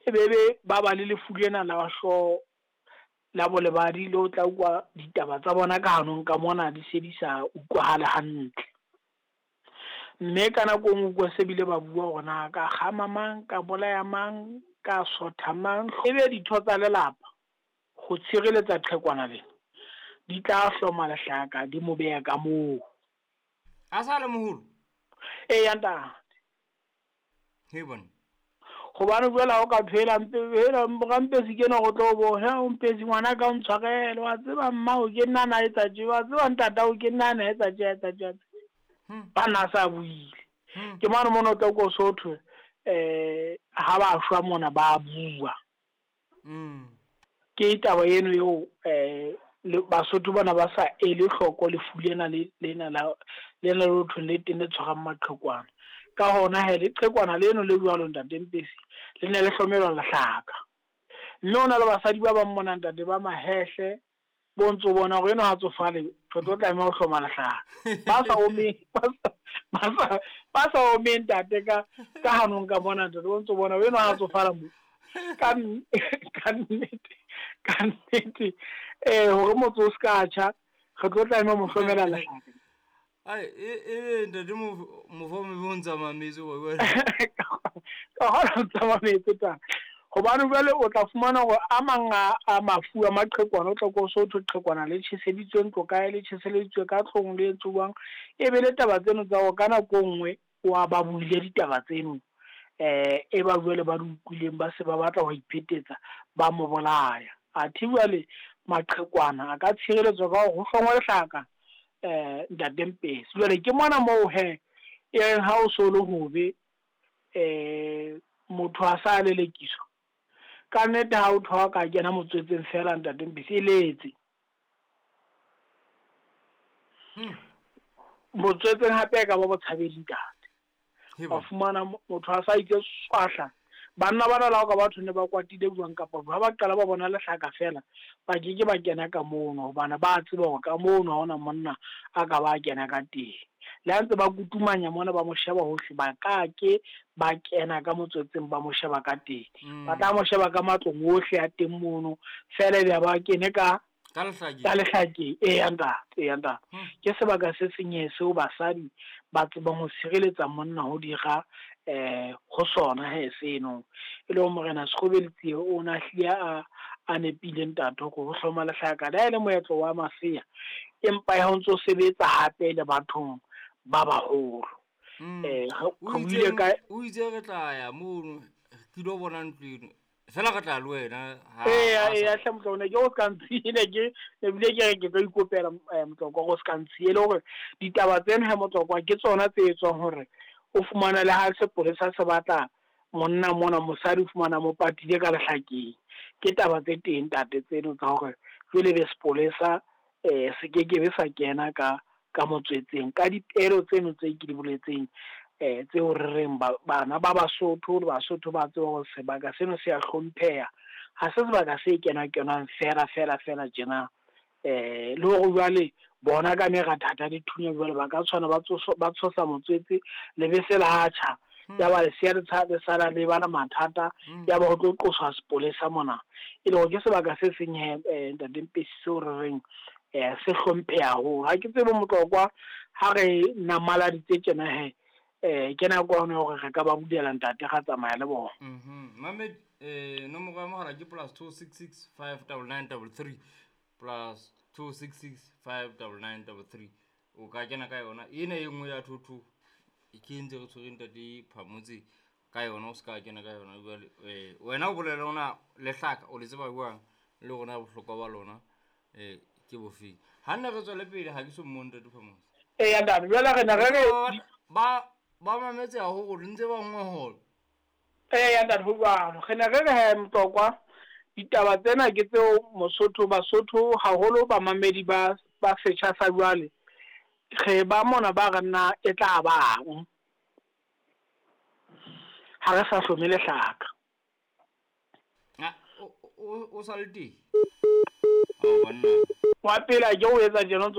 E be be ba ba le lefu lena la hlooho la bolebadi le o tla ukwa ditaba tsa bona ka hanong ka mona di se di sa utlwahale hantle. Mme ka nako e nngwe ukwa se bile ba bua hore na ka kgama mang, ka bolaya mang, ka sotha mang. Ebe ditho tsa lelapa ho tshireletsa qhekwana lena di tla hloma lehlaka di mo beha ka moo. A sa le moholo? Eya ntate. He bona. Gobane jwale ha o ka thwe hela hela Rampesi ke enwa go tlo bona, he Mpesi ngwana ka o ntshwarele, wa tseba mmao ke nna a na etsa tje, wa tseba ntatao ke nna a na etsa tje, a etsa tje, a etsa tje. Ba nna a sa buile. Ke mane mona o tla utlwa o so thwe ha ba shwa mona ba bua. Ke taba eno eo Basotho bana ba sa ele hloko lefu lena le lena la lena le thweng le teng le tshwarang maqhekwana. Ka hona he leqhekwana leno le jwalo ntate Mpesi le ne le hlomelwa lehlaka. Mme ho na le basadi ba bang mona ntate ba mahehle bo ntso bona hore eno ha tsofale re tlo tlameha ho hloma lehlaka. Ba sa omeng ba sa omeng ntate ka ka hanong ka mona ntate bo ntso bona eno ha tsofala mo. Ka ka nnete ka nnete hore motse o ska tjha re tlo tlameha ho mo hlomela lehlaka. Ai e ntate mofo mo o ntsa mametse wa bua. Ka hona o ntsa mametse ta. Hobane jwale o tla fumana hore a mang a mafu a maqhekwana o tla ko so thwe qhekwana le tjheseditswe ntlo kae, le tjheseleditswe ka tlong le entswe jwang. E be le taba tseno tsa hore ka nako e nngwe wa ba buile ditaba tseno e ba jwale ba di utlwileng ba se ba batla ho iphetetsa ba mo bolaya. Athe jwale maqhekwana a ka tshireletswa ka hore ho hlongwe lehlaka ntate Mpesi. Jwale ke mona moo he e reng ha o so le hobe motho a sa lelekiswa. Ka nnete ha o thwa ka kena motswetseng fela ntate Mpesi e letse. Motswetseng hape e ka ba botshabedi ntate. Wa fumana motho a sa itse swahla. Banna bana la ka batho ne ba kwatile jwang kapa ha ba qala ba bona lehlaka fela ba ke ke ba kena ka mono hobane ba tseba hore ka mono ha hona monna a ka ba kena ka teng. Le ha ntse ba kutumanya mona ba mo sheba hohle ba ka ke ba kena ka motswetseng ba mo sheba ka teng. Ba tla mo sheba ka matlong ohle a teng mono fela ebe ba kene ka ka lehlakeng. Ka lehlakeng. Eya ntate, eya ntate. Ke sebaka se senyehe seo basadi ba tsebang ho sireletsa monna ho dira ho sona he seno. E le hore morena Sekgobeletsie o na hlile a nepile ntate hore ho hloma lehlaka le ha e le moetlo wa masea empa ya ho ntso sebetsa hape le bathong ba baholo. O itse re tla ya mono ke lo bona ntlo eno. Fela re tla le wena Eya eya hle Motlokwa ne ke o ska ntshile ke ebile ke re ke tlo ikopela Motlokwa go ska ntshile hore ditaba tsena he Motlokwa ke tsona tse etswang hore o fumana le ha sepolesa se batla monna mona mosadi o fumana mo patile ka lehlakeng. Ke taba tse teng ntate tseno tsa hore jwale be sepolesa se ke ke be sa kena ka ka motswetseng ka dipelo tseno tse ke di boletseng tseo re reng bana ba Basotho le Basotho ba tseba hore sebaka seno se a hlompheha. Ha se sebaka se kena kenwang fela fela fela tjena. Le hore jwale bona ka merathatha le thunya jwale ba ka tshwana ba tshosa motswetse le bese la tjha. Ya ba lesea le sala le bana mathata ya ba ho tlo qoswa sepolesa mona. E le hore ke sebaka se seng he ntate Mpesi seo re reng se hlompheha haholo. Ha ke tsebe Motlokwa ha re namaladitse tjena he ke nako ya hore re ka ba bulela ntate ga tsamaya le bona. Mamed nomoro ya mogala ke +266 59933 +266 59933. O ka kena ka yona ena e nngwe ya thotho ke ntse re tshwere ntate Phamotse ka yona o ska kena ka yona jwale wena o bolela ona lehlaka o le tseba jwang le rona bohlokwa ba lona ke bofeng. Ha nne re tswele pele ha ke so mmone ntate Phamotse. Eya ntate jwale re ne re re ba mametse haholo ntse ba nngwe. Eya ntate ho jwalo. Re ne re re he Motlokwa ditaba tsena ke tseo Mosotho Basotho haholo ba mamedi ba setjha sa jwale re ba mona ba re nna e tla bang ha re sa hlome lehlaka. O sa le teng? Wa pele ke o etsa tjena.